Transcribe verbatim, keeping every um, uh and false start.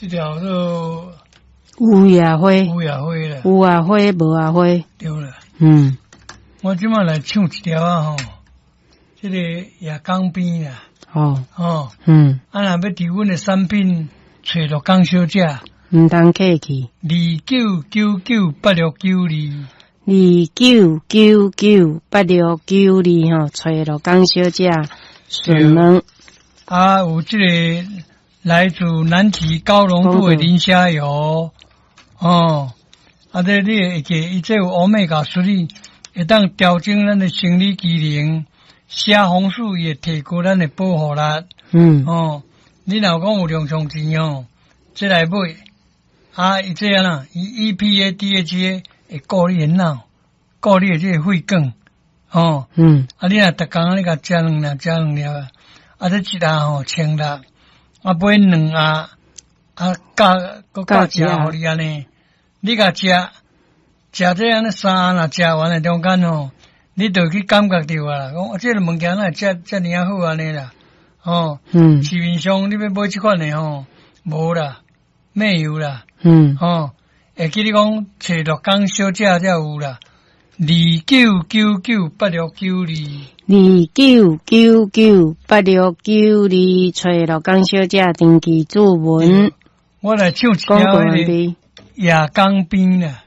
這條做有野花，有野花啦，有啊花，無啊花。對啦。嗯，我這擺來唱一條啊吼，這個夜江邊啦，哦，吼，嗯，啊若欲佇阮的產品揣鹿港小姐，毋通客氣。二九九九八六九二，二九九九八六九二吼，揣鹿港小姐順問。啊，有這個來自南提高濃度的磷蝦油，哦，啊，這你會記，伊這有 Omega three，會當調整咱的生理機能，蝦紅素伊會提高咱的保護力。嗯，哦，你若有講有零用錢哦，這來買，啊，伊這按怎，伊 E P A D H A 會顧你的腦，顧你的這個血管，哦，嗯，啊，你若逐工你共食兩粒，食兩粒，啊，這一盒吼千六，啊，買兩盒，啊，加閣加一盒予你按呢，你共食，食這按呢三盒若食完的中間吼，你就去感覺著啊啦，講啊，這个物件哪會遮遮爾仔好按呢啦，哦，嗯，市面上你欲買這款的吼，無啦，沒有啦，嗯，吼，會記你講揣鹿港小姐才有啦，二九九九八六九二，二九九九八六九二，揣鹿港小姐登記注文。我來唱一條彼个夜江邊啦。